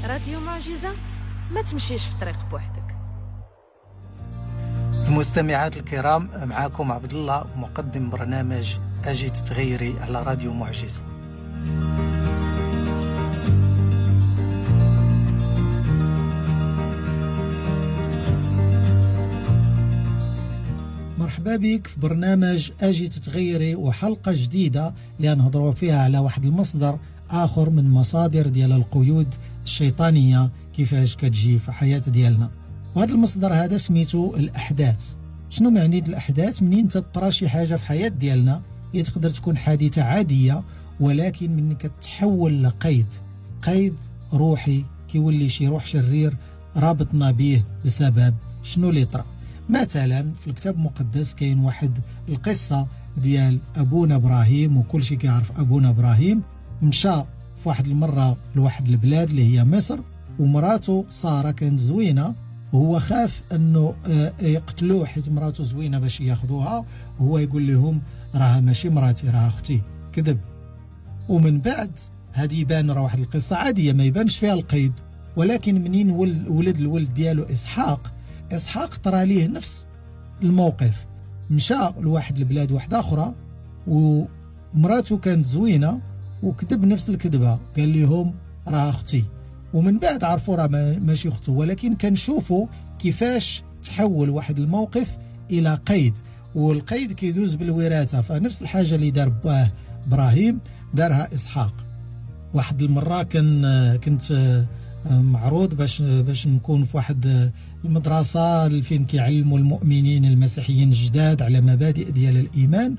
راديو معجزة، ما تمشيش في طريق بوحدك. المستمعات الكرام، معاكم عبد الله مقدم برنامج أجي تتغيري على راديو معجزة. مرحبا بك في برنامج أجي تتغيري وحلقة جديدة اللي نهضروا فيها على واحد المصدر آخر من مصادر ديال القيود الشيطانية كيفاش كتجي في حياة ديالنا. وهذا المصدر هذا سميتو الأحداث. شنو معني الأحداث؟ منين تطرى شي حاجة في حياة ديالنا، هي تقدر تكون حادثة عادية، ولكن من كتحول لقيد، قيد روحي، كيولي شي روح شرير رابطنا به بسبب شنو اللي طرا. مثلا في الكتاب المقدس كاين واحد القصة ديال أبونا إبراهيم، وكل شي كيعرف أبونا إبراهيم. مشى في واحد المرة لواحد البلاد اللي هي مصر، ومراته سارة كانت زوينة، وهو خاف أنه يقتلوه حيت مراته زوينة باش ياخذوها. هو يقول لهم راها ماشي مراتي، راها أختي، كذب. ومن بعد هذه يبان راه واحد القصة عادية ما يبانش فيها القيد، ولكن منين ولد الولد ديالو إسحاق، إسحاق طرى ليه نفس الموقف. مشى لواحد البلاد واحدة أخرى ومراته كانت زوينة، وكذب نفس الكذبة، قال لهم راه أختي. ومن بعد عرفوا راه ماشي أخته، ولكن كنشوفوا كيفاش تحول واحد الموقف إلى قيد، والقيد كيدوز بالوراثة. فنفس الحاجة اللي دار باه إبراهيم دارها إسحاق. واحد المرة كنت معروض باش نكون في واحد المدرسة فين كيعلموا المؤمنين المسيحيين الجداد على مبادئ ديال الإيمان،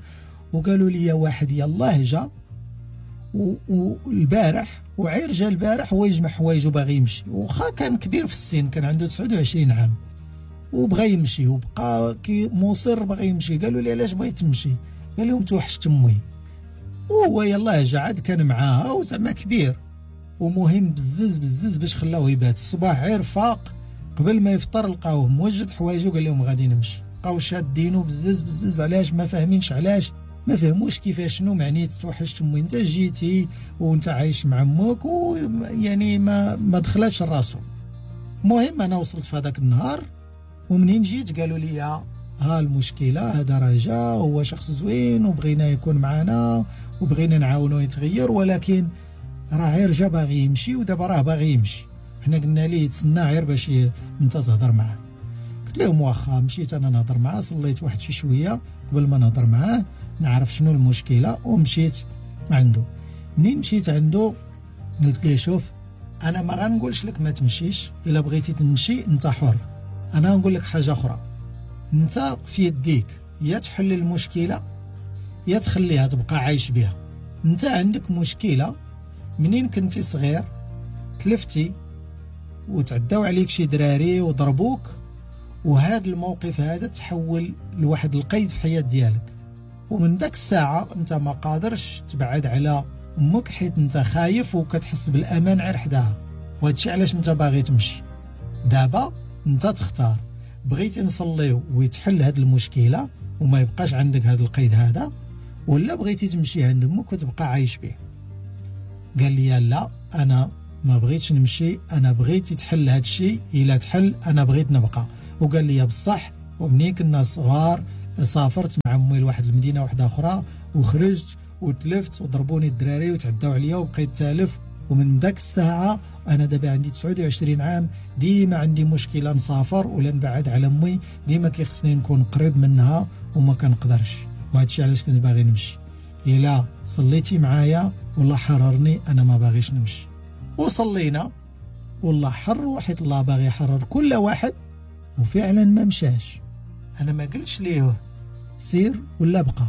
وقالوا لي واحد يلاه جا والبارح وعير جا البارح هو يجمع حوايجو باغي يمشي، وخا كان كبير في السن، كان عنده 29 عام وبغى يمشي، وبقى كي مصر بغى يمشي. قالوا لي علاش بغيت تمشي؟ قال لهم توحشت امي. وهو يلاه جا عاد كان معاها وزعما كبير، ومهم بزز بزز باش خلاوه يبات. الصباح عير فاق قبل ما يفطر لقاوه موجد حوايجو، قال لهم غادي نمشي. بقاو شادينو بزز بزز، علاش؟ ما فاهمينش علاش، ما فهموش كيفاش شنو معني توحشت امي، انت جيتي وانت عايش مع امك، ويعني ما دخلاتش راسو. المهم انا وصلت في هذاك النهار، ومنين جيت قالوا لي ها المشكله، هذا راه جا هو شخص زوين وبغينا يكون معنا وبغينا نعاونو يتغير، ولكن راه غير جا باغي يمشي ودابا راه باغي يمشي. حنا قلنا ليه تسنى غير باش انت تهضر معاه. قلت لهم واخا. مشيت انا نهضر معاه، صليت واحد شي شويه قبل ما نهضر معاه نعرف شنو المشكله، ومشيت عنده. منين مشيت عنده قلت ليه شوف، انا ما غنقولش لك ما تمشيش، الا بغيتي تمشي انت حر، انا نقول لك حاجه اخرى، انت في يديك يا تحل المشكله يا تخليها تبقى عايش بها. انت عندك مشكله منين كنتي صغير تلفتي وتعداو عليك شي دراري وضربوك، وهذا الموقف هذا تحول لواحد القيد في حياة ديالك، ومن داك الساعة انت ما قادرش تبعد على امك حيت انت خايف وكتحس بالامان غير حداها، وهادشي علاش انت باغي تمشي. دابا انت تختار، بغيتي نصليو ويتحل هاد المشكلة وما يبقاش عندك هاد القيد هذا، ولا بغيتي تمشي عند امك وتبقى عايش به. قال لي لا، انا ما بغيتش نمشي، انا بغيت يتحل هاد الشيء، الا تحل انا بغيت نبقى. وقال لي بصح، ومنين كنا صغار سافرت مع امي لواحد المدينه واحده اخرى، وخرجت وتلفت وضربوني الدراري وتعداو عليا وبقيت تالف، ومن داك الساعه انا دابا عندي 29 عام، ديما عندي مشكله نسافر ولا نبعد على امي، ديما كيخصني نكون قريب منها وما كنقدرش، وهذا الشيء علاش كنت باغي نمشي. الا صليتي معايا والله حررني، انا ما باغيش نمشي. وصلينا والله حر، حيت الله باغي يحرر كل واحد، وفعلا ما مشاش. انا ما قلتش ليه سير ولا بقى،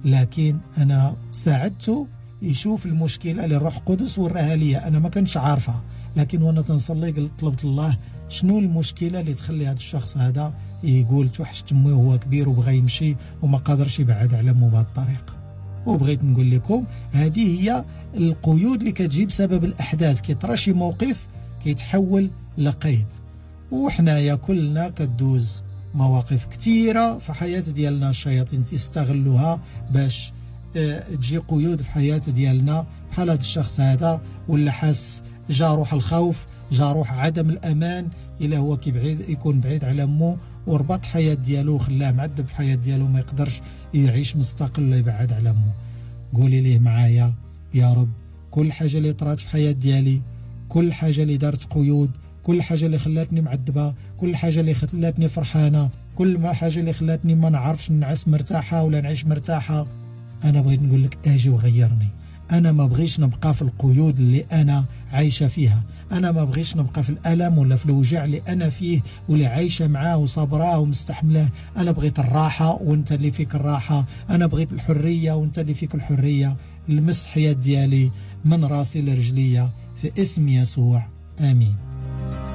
لكن انا ساعدته يشوف المشكله اللي الروح القدس وراها ليا، انا ما كنتش عارفها، لكن وانا تنصلي قلت طلبت الله شنو المشكله اللي تخلي هذا الشخص هذا يقول توحشت امي وهو كبير وبغى يمشي وما قادرش يبعد على امه بهذه الطريقه. وبغيت نقول لكم هذه هي القيود اللي كتجي بسبب الاحداث، كيطرا شي موقف كيتحول لقيد. وحنايا كلنا كدوز مواقف كثيره في حياه ديالنا، الشياطين تستغلوها باش تجي قيود في حياه ديالنا، بحال هذا الشخص هذا ولا حاس جا روح الخوف جا روح عدم الامان الا هو كيبعيد يكون بعيد على مو، وربط حياة ديالو وخلاه معذب في حياة ديالو، ما يقدرش يعيش مستقل يبعد على مو. قولي ليه معايا يا رب كل حاجة اللي طرات في حياة ديالي، كل حاجة اللي دارت قيود، كل حاجة اللي خلاتني معذبة، كل حاجة اللي خلاتني فرحانة، كل حاجة اللي خلاتني ما نعرفش نعس مرتاحة ولا نعيش مرتاحة، أنا بغيت نقول لك أجي وغيرني. أنا ما بغيش نبقى في القيود اللي أنا عايشة فيها، أنا ما بغيش نبقى في الألم ولا في الوجع اللي أنا فيه واللي عايشة معاه وصبراه ومستحملاه. أنا بغيت الراحة وانت اللي فيك الراحة، أنا بغيت الحرية وانت اللي فيك الحرية. المس حياة ديالي من راسي لرجليا في اسم يسوع، آمين.